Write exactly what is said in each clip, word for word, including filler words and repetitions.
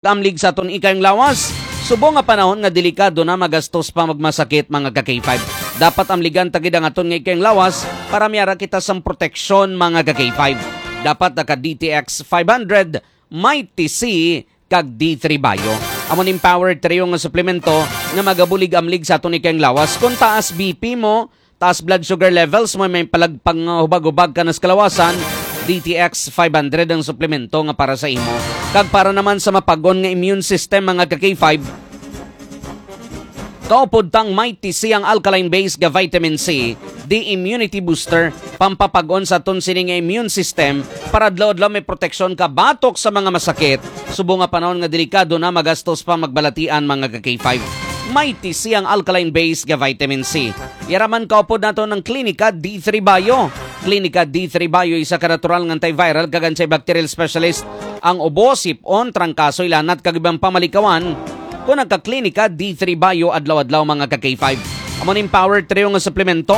Amlig sa aton ikayang lawas. Subong nga panahon nga delikado na, magastos pa, magmasakit, mga ka-K five. Dapat amligan ta gid ang aton nga ikayang lawas para may ara kita sang proteksyon, mga ka-K five. Dapat naka D T X five hundred, Mighty C, kag D three Bio. Amo ning power trio nga suplemento nga magabulig amlig sa aton ikayang lawas. Kung taas B P mo, taas blood sugar levels mo, may palagpang hubag-hubag ka na sa kalawasan, D T X five hundred ang suplemento nga para sa imo. Kag para naman sa mapag-on nga immune system, mga ka-K five, kaupod tang Mighty C, ang alkaline base nga vitamin C, the immunity booster, pampapag-on sa aton sini nga immune system para adlaw-adlaw may proteksyon ka batok sa mga masakit. Subong nga panahon nga delikado na, magastos pa, magbalatian, mga ka-K five. Mighty C, ang alkaline base nga vitamin C. Yara man kaupod nato ng Klinika D three Bio. Klinika D three Bio, isa ka natural nga antiviral kag antibacterial specialist. Ang ubo, sipon, trangkaso, ilanat, kag ibang pamalikawan. Kung nagka-Klinika D three Bio adlaw-adlaw, mga ka-K five. Amo ning power trio nga suplemento,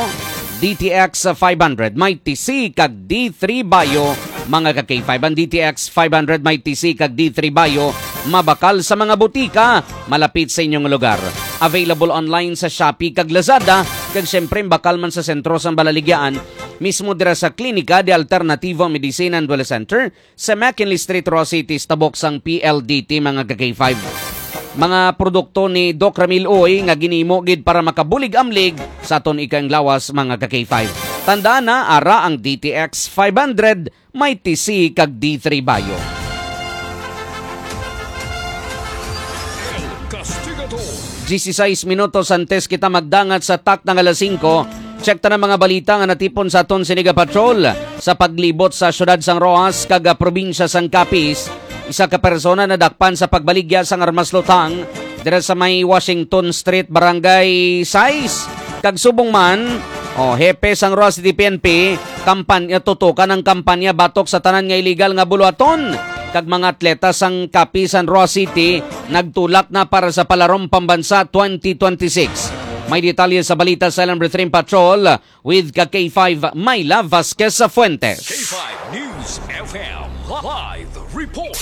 D T X five hundred, Mighty C, kag D three Bio, mga ka-K five. Ang D T X five hundred, Mighty C, kag D three Bio, mabakal sa mga butika malapit sa inyong lugar. Available online sa Shopee kag Lazada, kag siyempre bakal man sa sentro sang Balaligyaan, mismo dira sa Klinika de Alternativo Medicine and Wellness Center, sa McKinley Street, Roa City, sa tabok sang P L D T, mga ka-K five. Mga produkto ni Doc Ramil Uy nga ginimo gid para makabulig-amlig sa aton ikayang lawas, mga ka-K five. Tandaan na, ara ang D T X five hundred, Mighty C, kag D three Bio. El Castigador. Dieciséis minutos antes kita magdangat sa takna nga alas singko, check ta na mga balita nga natipon sa aton sini nga patrol. Sa paglibot sa siyudad sang Roxas kag, ah, probinsya sang Capiz, isa ka persona nadakpan sa pagbaligya sang armas luthang dira sa may Washington Street, Barangay sais. Kag subong man, o, hepe sang Roxas City P N P, kampanya, tutukan ang kampanya batok sa tanan nga iligal nga buluhaton. Kag mga atleta sang Capiz sang Roxas City nagtulak na para sa Palarong Pambansa twenty twenty-six. May detalye sa balita sa Alam Retrain Patrol with ka K five Myla Vasquez Fuentes. K five News F M live report.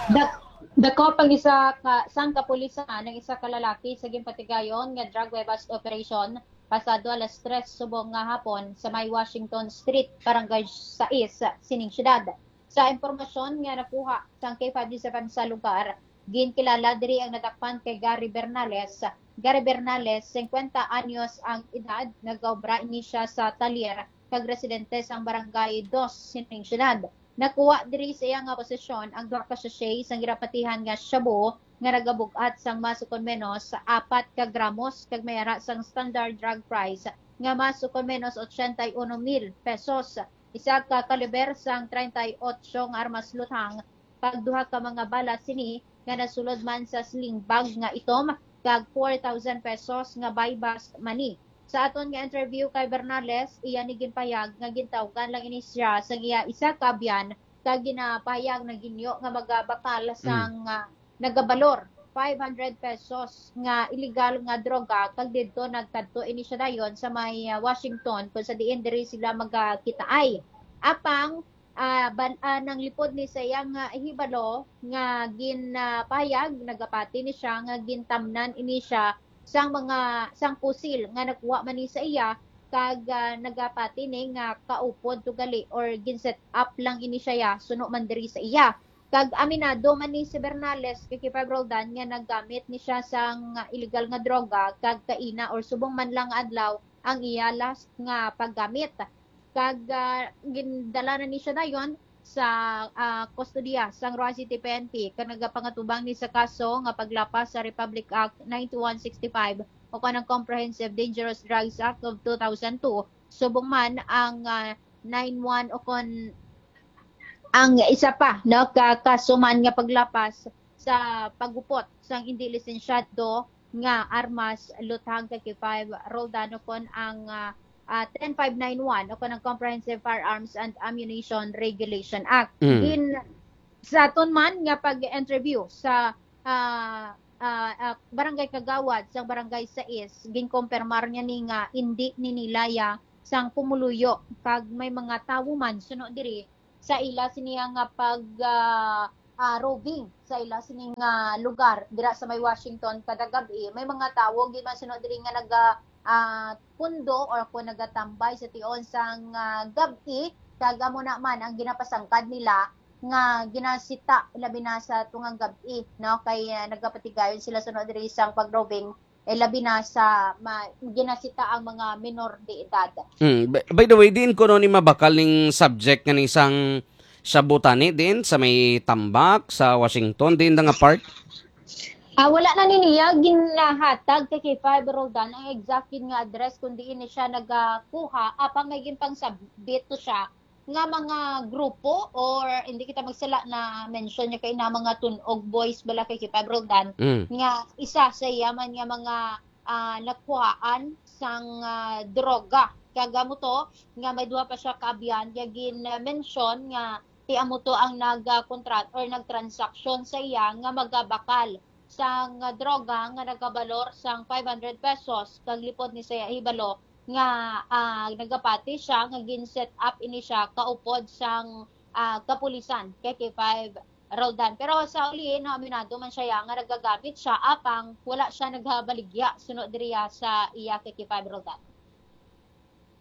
The, the cop ang isa ka, sang kapulisan ang isa ka lalaki sa ginpatigayon nga drug bust operation pasado alas tres subong nga hapon sa may Washington Street, Barangay sais, sining siyudad. Sa impormasyon nga nakuha sang K five News F M sa lugar, ginkilala diri ang nadakpan kay Gary Bernales. Gary Bernales, singkwenta anyos ang edad, nagaobra ini siya sa talyer kag residente sang Barangay dos sining siyudad. Nakuha diri sa iya nga posesyon ang duha ka sachet sang ginapatihan nga shabu nga nagabug-at sang mas ukon menos apat ka gramos kag may ara sang standard drug price nga mas ukon menos ochenta y uno mil pesos. Isa ka kaliber sang treinta y ocho nga armas luthang, kag duha ka mga bala sini nga nasulod man sa sling bag nga itom, kag four thousand pesos nga buy-bust money. Sa aton nga interview kay Bernales, iya ni ginpahayag nga gintawgan lang ini siya sang iya isa ka abyan, kag ginapahayag na ginyo nga magabakal sang, ah, nagabalor five hundred pesos nga illegal nga droga, kag didto nagkadto ini siya dayon sa may, ah, Washington, kung sa diin diri sila magakitaay. Apang, ah, ban-, ah, nanglipod ni sa iya nga hibalo nga ginapahayag, nagapati ni siya nga gintamnan ini siya sang mga, sang pusil nga nakuha man ni sa iya, kag, ah, nagapati ni nga kaupod to gali or gin-set up lang ini siya ya, suno man diri sa iya. Kag aminado man ni si Bernales kay Kipag Roldan nga naggamit ni siya sang illegal nga droga kag kaina or subong man lang nga adlaw ang iya last nga paggamit. Kag, ah, gindala na ni siya dayon sa, ah, kustodiya sang Roxas City P N P kag nagapangatubang ni sa kaso nga paglapas sa Republic Act nine two one six five o kanang Comprehensive Dangerous Drugs Act of two thousand two. Subong man ang, ah, nine one o kon ang isa pa, no, ka kaso man nga paglapas sa paghupot sang indi lisensyado nga armas, luthang kay K five Roldan o kon ang, ah, ah, ten five nine one o kon ang Comprehensive Firearms and Ammunition Regulation Act. Mm. Gin-, sa aton man nga pag-interview sa, ah, ah, ah, barangay kagawad sa Barangay sais, ginkompermar niya ni nga indi ni nila ya sang pumuluyo, kag may mga tawo man suno diri sa ila siniya nga pag, ah, ah, roving sa ila sining, ah, lugar dira sa may Washington kada gab-i. May mga tawo gid man suno diri nga naga, ah, pundo or kung nagatambay sa tion sang, ah, gab-i, kag amo na man ang ginapasangkad nila nga ginasita labi na sa tungang gab-i, no? Kay, ah, nagapatigayon sila suno diri sang pag-roving, eh, labi na sa ma-, ginasita ang mga minor de edad. Hmm. By, by the way, diin kuno ni mabakal ning subject nga ni sang shabu tani din sa may Tambak sa Washington, din na nga part? Ah, wala na ni niya ginahatag kay K five Roldan ang exact gid nga address kung diin ni siya nagakuha, apang may ginpangsabit to siya nga mga grupo, or hindi kita magsala na mention niya kay na mga Tunog Boys bala kay K five Roldan, Mm. nga isa sa iya man nga mga, ah, nakuhaan sang, ah, droga. Kag amo to nga may duha pa siya ka abyan nga gin-mention nga ti amo to ang nag-contract or nagtransaksyon sa iya nga magabakal sang droga nga nagabalor sang five hundred pesos, kag lipod ni sa iya hibalo nga, ah, nagapati siya nga gin-set up ini siya kaupod sang, ah, kapulisan kay K five Roldan. Pero sa uli, no, aminado man siya nga nagagamit siya, apang wala siya nagabaligya suno diriya sa iya kay K five Roldan.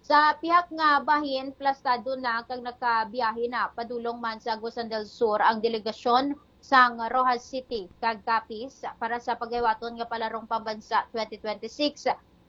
Sa pihak nga bahin, plastado na kag nakabiyahe na padulong man sa Agusan del Sur ang delegasyon sang Roxas City kag Capiz para sa paghiwaton nga Palarong Pambansa twenty twenty-six.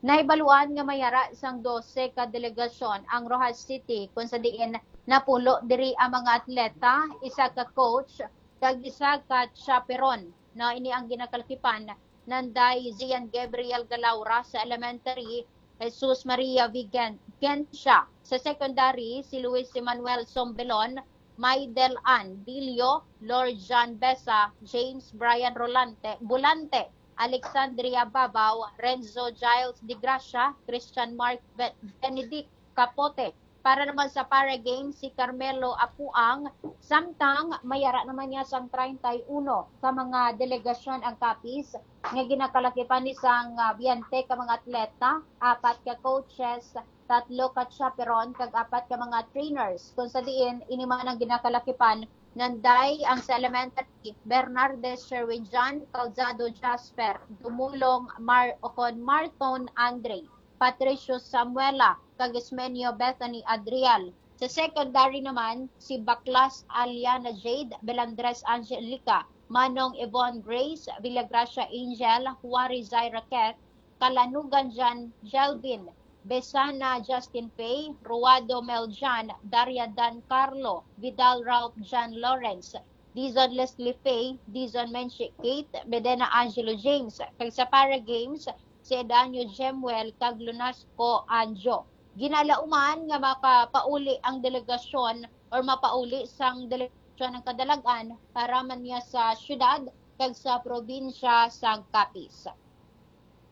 Nahibaluan nga may ara sang dose ka delegasyon ang Roxas City, kung sa diin napulo diri ang mga atleta, isa ka coach, kag isa ka chaperon. No, ini ang ginakalakipan nanday Gian Gabriel Galaura sa elementary, Jesus Maria Vigen-, Gencia. Sa secondary, si Luis Emmanuel Sombelon, Maydel Ann Dilio, Lord John Besa, James Brian Rolante, Bulante, Alexandria Babaw, Renzo Giles de Gracia, Christian Mark Be-, Benedict Capote. Para naman sa para games, si Carmelo Apuang, samtang may ara naman niya sang treinta y uno ka mga delegasyon ang Capiz, nga ginakalakipan ni sang, ah, biyente ka mga atleta, apat ka coaches, tatlo ka chaperon, kag apat ka mga trainers. Kung sa diin, ini man ang ginakalakipan nanday ang sa elementary, Bernardes Sherwin John, Calzado Jasper, Dumulong Mar-, Ocon Marton Andre, Patricio Samuela, kag Ismenio Bethany Adrial. Sa secondary naman, si Baklas Aliana Jade, Belandres Angelica, Manong Yvonne Grace, Villagracia Angel, Huari Zaira Keth, Kalanugan Jan Jelvin, Besana Justin Pay, Ruado Mel Jan, Daria Dan Carlo, Vidal Ralph Jan Lawrence, Dizon Leslie Pay, Dizon Menchie Kate, Bedena Angelo James, kag sa para games, si Edanio Jemuel kag Lunasco Anjo. Ginalauman nga makapauli ang delegasyon or mapauli sang delegasyon ang kadalagan para man niya sa syudad kag sa probinsya sang Capiz.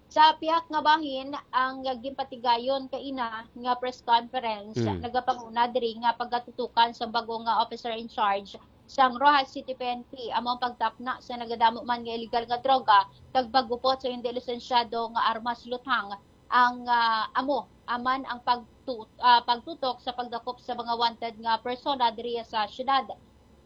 Sa pihak nga bahin, ang ginpatigayon kaina nga press conference Mm. nagapanguna diri nga pagatutukan sa bago nga officer in charge sang Roxas City P N P amo ang pagtapna sa nagadamo man nga illegal nga droga kag paggupot sa hindi lisensyado nga armas luthang ang, ah, amo aman ang pagtu-, ah, pagtutok sa pagdakop sa mga wanted nga persona diriya sa syudad.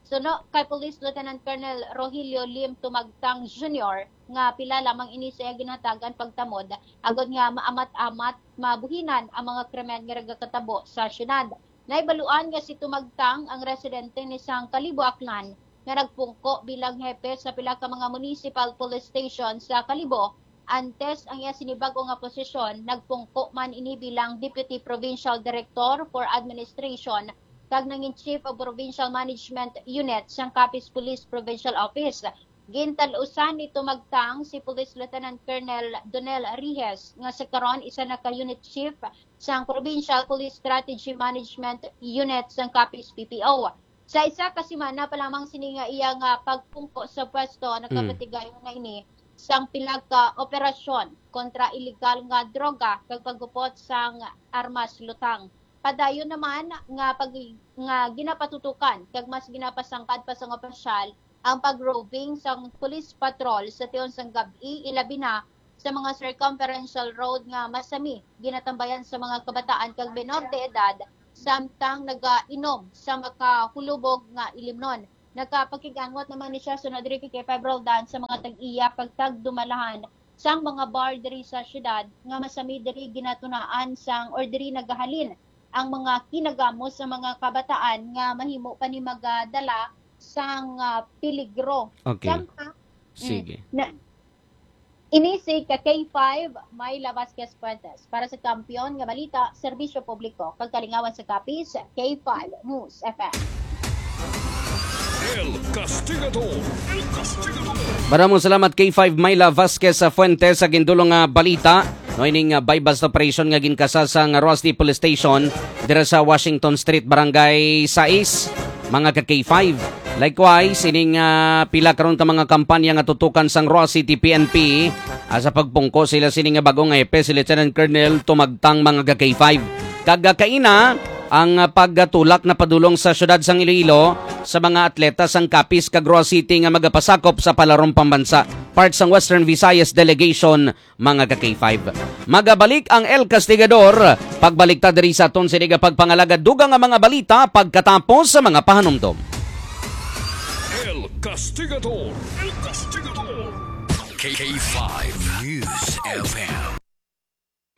Suno kay Police Lieutenant Colonel Rogelio Lim Tumagtang Junior nga pila lamang ini sa iya ginhatagan pagtamod agod nga maamat-amat mabuhinan ang mga krimen nga nagakatabo sa syudad. Naibaluan nga si Tumagtang ang residente ni sang Kalibo, Aklan, nga nagpungko bilang hepe sa pila ka mga municipal police station sa Kalibo. Antes ang iya sini bag-o nga posisyon, nagpungko man ini bilang Deputy Provincial Director for Administration kag nangin Chief of Provincial Management Unit sang Capiz Police Provincial Office. Gintal-usan ni Tumagtang si Police Lieutenant Colonel Donel Rijes, nga sa karon isa na ka Unit Chief sang Provincial Police Strategy Management Unit sang Capiz P P O. Sa isa ka semana pa lamang sini nga iya nga pagpungko sa pwesto, nakapatigayon na ini sang pila ka operasyon kontra iligal nga droga kag paggupot sang armas lutang. Padayon naman nga pag-, nga ginapatutukan kag mas ginapasangkad pa sang opisyal ang pag-roving sang police patrol sa tion sang gab-i, ilabi na sa mga circumferential road nga masami ginatambayan sa mga kabataan kag menor de edad samtang nagainom sa makahulubog nga ilimnon. Nakapakig-angot naman ni siya sunod diri kay K five Roldan sa mga tag-iya kag tagdumalahan sang mga bar diri sa syudad nga masami diri ginatunaan sang or diri nagahalin ang mga kinagamos sa mga kabataan nga mahimo pa ni magadala sang, ah, peligro. Okay. Sama, mm, Sige. na, Ini si ka K five, Myla Vasquez Fuentes. Para sa Kampiyon nga Balita, Serbisyo Publiko, kag Kalingawan sa Capiz, K five News F M. El Castigador. El Castigador. Maramong salamat, K five Myla Vasquez sa Fuentes, sa gindulong nga balita. No, ining, ah, buy-bust operation nga ginkasa sa nga Roxas City Police Station, dira sa Washington Street, Barangay sais, mga ka K five. Likewise, ining, ah, pila karon ka mga kampanya nga tutukan sang Roxas City P N P, ah, sa pagpungko sila sini nga bagong hepe, si Lieutenant Colonel Tumagtang, mga ka K five. Kag, ah, kaina ang, ah, pagtulak na padulong sa siyudad sang Iloilo sa mga atleta sang Capiz kag Roxas City nga magapasakop sa Palarong Pambansa, part sang Western Visayas Delegation, mga ka K five. Magabalik ang El Castigador. Pagbalik ta diri sa aton sini nga pagpangalagad dugang nga mga balita pagkatapos sa mga pahanumdom. El Castigador. El Castigador. K five News F M.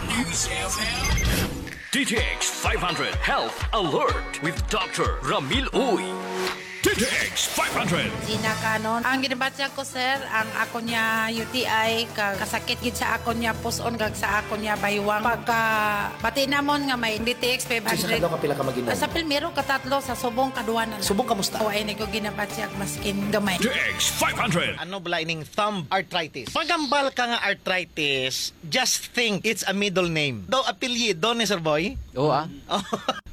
News F M. D T X five hundred Health Alert with Doctor Ramil Uy. D T X five hundred. Gina Canon. Ang ginabatyag ko, sir, ang ako niya U T I, ka-, kasakit gid sa ako niya puson, kag sa ako niya baywang. Pagka bati namon nga may D T X five hundred. Sa kadlaw, kapila ka mag-inom? Sa primero, katatlo, sa subong, kaduwa na lang. Subong, kamusta? O, ay, ni ko ginabatyag, maskin gamay. D T X five hundred. Ano bala ining thumb arthritis? Magambal ka nga arthritis, just think it's a middle name. Daw apelyido ni Sir Boy? Oo, ah. Oh.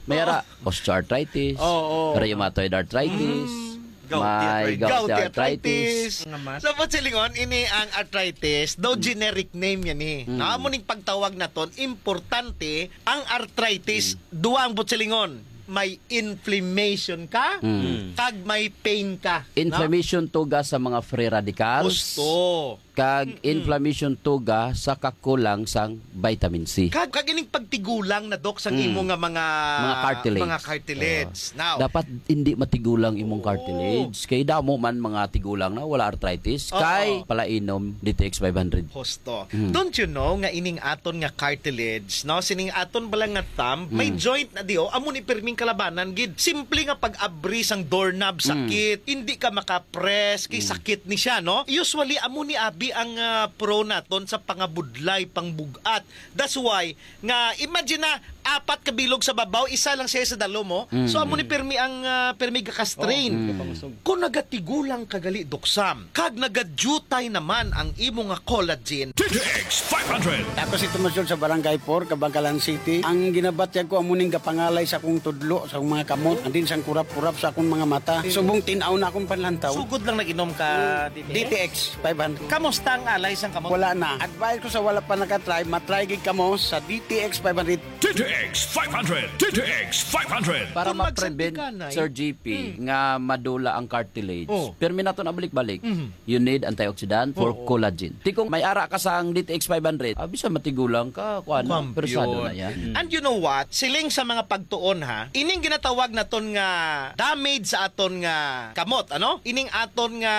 May ara, osteoarthritis, Oo. rheumatoid arthritis, Mm. Gouty may arthritis. gouty Gouty arthritis. arthritis. Nga mas. Sa Butsillingon, ini ang arthritis, daw Mm. generic name yan eh. Mm. Na amo ning pagtawag naton, importante ang arthritis, Mm. duwa ang Butsillingon. May inflammation ka, Mm. kag may pain ka, no? Inflammation tuga sa mga free radicals. Gusto. Kag Mm-mm. inflammation tuga sa kakulang sang vitamin C. Kag, kag ining pagtigulang na, Doc, sang Mm. imo nga mga, Mga cartilage. mga cartilage. Oo. Now, Dapat hindi matigulang imong Oo. cartilage. Kay damo man mga tigulang na wala arthritis. Oo. Kay palainom D T X five hundred. Husto. Mm. Don't you know nga ining aton nga cartilage, no? Sining aton bala nga thumb, may Mm. joint na di, oh. Amo ni pirming kalabanan gid. Simple nga pag-abri sang doorknob, Mm. sakit. Hindi ka maka-press, kay Mm. sakit ni siya, no? Usually, amo ni abi ang, ah, pro naton sa pangabudlay, pangbug-at. That's why, nga, imagine na, apat ka bilog sa babaw, isa lang siya sa dalom, oh. So, Mm. amo ni pirmi ang, ah, pirmi gaka-strain. Oh, Mm. kapangusog. Kung nagatigulang ka gali, Doc Sam, kag nagadutay naman ang imo nga collagen. D T X five hundred. Ako si Tomas Jun sa Barangay four, Kabangkalan City. Ang ginabatyag ko, amo ning gapangalay sa akong tudlo, sa akong mga kamot, and then sang kurap-kurap sa akong mga mata. Subong tin-aw na akong panlantaw. Sugod lang nag-inom ka, Mm. D T X? D T X five hundred. Kamusta ang alay sang kamot? Wala na. Advice ko sa wala pa nakatry, matry gid kamo sa D T X five hundred. D T X five hundred. D T X five hundred. Para Kung ma-prevent, magsandiganay, Sir G P, Mm. nga madula ang cartilage, Oh. pirmi nato na balik-balik. Mhm. You need antioxidant for Oo. collagen. Ti kung may ara ka sang D T X five hundred, ah, bisan matigulang ka, kuan na, Kampiyon. Persado na yan. Mm. And you know what? Siling sa mga pagtuon, ha, ining ginatawag naton nga damage sa aton nga kamot, ano? Ining aton nga,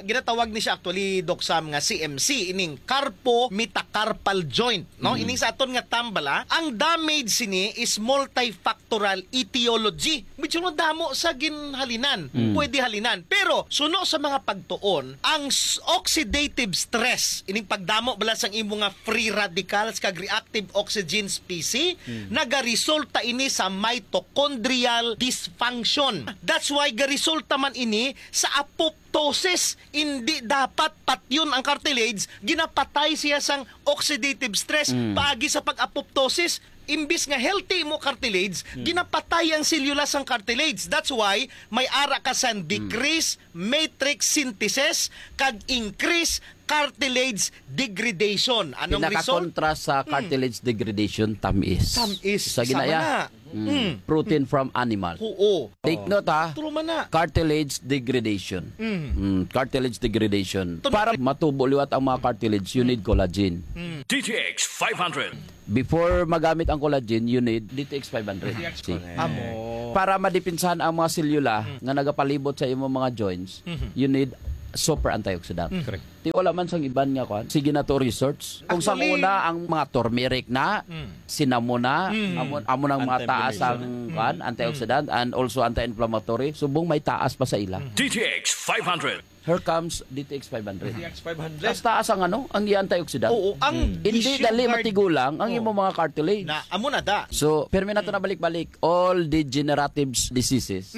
ginatawag ni siya actually, Doc Sam, nga C M C, ining carpometacarpal joint, no? Mm. Ining sa aton nga thumb bala, ang damage sini is multifactorial etiology. Medyo madamo sa ginhalinan. Mm. Pwede halinan. Pero, suno sa mga pagtuon, ang s-, oxidative stress, ining pagdamo bala sang imo nga free radicals kag reactive oxygen species, Mm. nagaresulta ini sa mitochondrial dysfunction. That's why garesulta man ini sa apoptosis. Hindi dapat patyon ang cartilage, ginapatay siya sang oxidative stress, Mm. paagi sa pag-apoptosis. Imbis nga healthy mo cartilage, Mm. ginapatay ang selula sang cartilage. That's why may ara ka sang Mm. decrease matrix synthesis kag increase cartilage degradation. Anong result? Pinakakontra sa Mm. cartilage degradation, tamis. Tamis. Sa Sama ginaya. na. Mm. Mm. Protein from animal. Oo. Take note, ha. True man na. Cartilage degradation. Mm. Mm, cartilage degradation. Tun- Para matubo liwat ang mga cartilage, you need collagen. Mm. D T X five hundred. Before magamit ang collagen, you need D T X five hundred. D T X See? Correct. Amo. Para madipinsahan ang mga selula nga nagapalibot sa imong mga joints, you need super antioxidant. Correct. Ti wala man sang iban nga kuan. Sige na to research. Kung sang una ang mga turmeric na, cinnamon na, amo, amo nang mga taas ang kuan, antioxidant and also anti-inflammatory. Subong may taas pa sa ila. D T X five hundred. Here comes D T X five hundred. D T X five hundred. Mas taas ang ano, ang iya antioxidant. Oo, ang Hindi issue dali guard. matigulang ang Oo. imong mga cartilage. Na, amo na da. So, permi nato na balik-balik, all degenerative diseases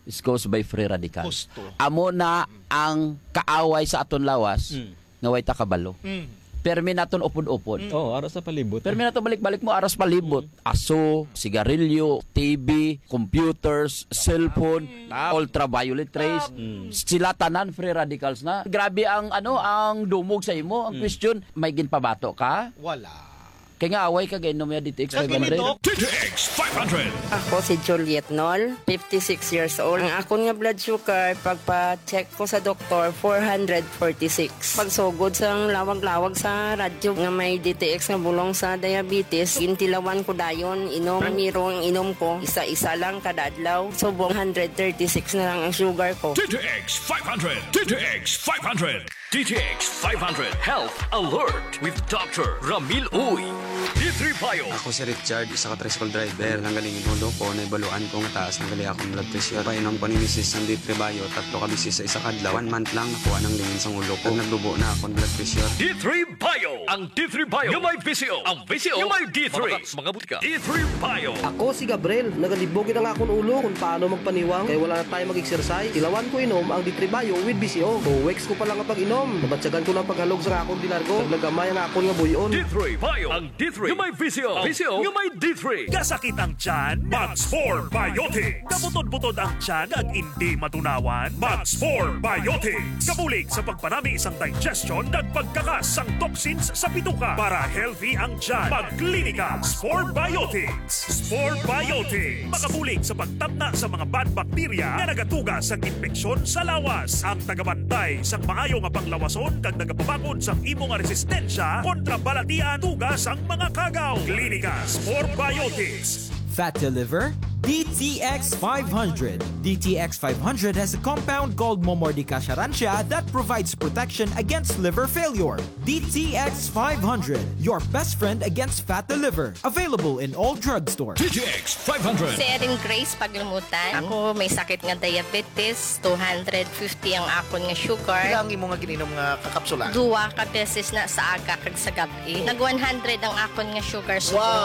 is caused by free radicals. Husto. Amo na ang kaaway sa aton lawas Mm. nga way ta kabalo. Mm. Permi naton upod-upod. Mm. Oh, ara sa palibot. Permi nato balik-balik mo, aras palibot. Aso, sigarilyo, T V, computers, cellphone, ultraviolet rays. Mm. Sila tanan free radicals na. Grabe ang ano, ang dumog sa imo. Ang Mm. question, may ginpabato ka? Wala. Kay nga away ka gainom ya D T X Kag five hundred. Ginidok. D T X five hundred. Ako si Juliet Nol, fifty-six years old. Ang akon nga blood sugar, pagpa-check ko sa doktor, four hundred forty-six. Pagsugod sang lawag-lawag sa radyo nga may D T X nga bulong sa diabetes, gintilawan ko dayon, inom, miro ang inom ko, isa-isa lang kada adlaw. Subong hundred thirty-six na lang ang sugar ko. D T X five hundred. D T X five hundred. D T X five hundred Health Alert with Doctor Ramil Uy. D three Bio. Ako si Richard, isa ka tricycle driver. Nanggaling ang ulo ko, naibaluan ko nga taas na gali akong blood pressure. Painom ko ni misis sang D three Bio, tatlo ka beses sa isa ka adlaw. One month lang, nakuha nang lingin sang ulo ko. Naglubo na akong blood pressure. D three Bio. Ang D three Bio nga may V C O. Ang V C O nga may D three. Mga, mga butika. D three Bio. Ako si Gabriel. Nagalibog gid ang akon ulo kung paano magpaniwang kay wala na tayo mag-exercise. Tilawan ko inom ang D three Bio with V C O. Two weeks ko pa lang ang pag-inom. Nabatyagan ko na ang paghalog sa akon di largo. Naglagamay ang akon nga buy-on. D three Bio. Ang D three nga may V C O. V C O nga may D three. Kasakit ang tiyan? Mag Spore Biotics. Kabutod-butod ang tiyan kag indi matunawan? Mag Spore Biotics. Kabulig sa pagpanami sang digestion kag pagkakas sang toxins sa bituka para healthy ang tiyan. Mag Klinika Spore Biotics. Spore Biotics. Makabulig sa pagtamna sa mga bad bacteria nga nagatuga sang impeksyon sa lawas. Ang tagabantay sang maayo nga panglawason kag nagapabakod sang imo nga resistensya kontra balatian tuga sang mga kagaw. Klinika Spore Biotics. Fat to liver? D T X five hundred. D T X five hundred has a compound called Momordica charantia that provides protection against liver failure. D T X five hundred, your best friend against fat to liver. Available in all drugstores. D T X five hundred. Si Erin Grace Paglumutan. Ako may sakit nga diabetes, two hundred fifty ang akon nga sugar. Pila ang imo nga gininom nga kakapsula? Duwa ka beses na sa aga kag sa gab-i. Nag one hundred ang akon nga sugar. Wow. Subong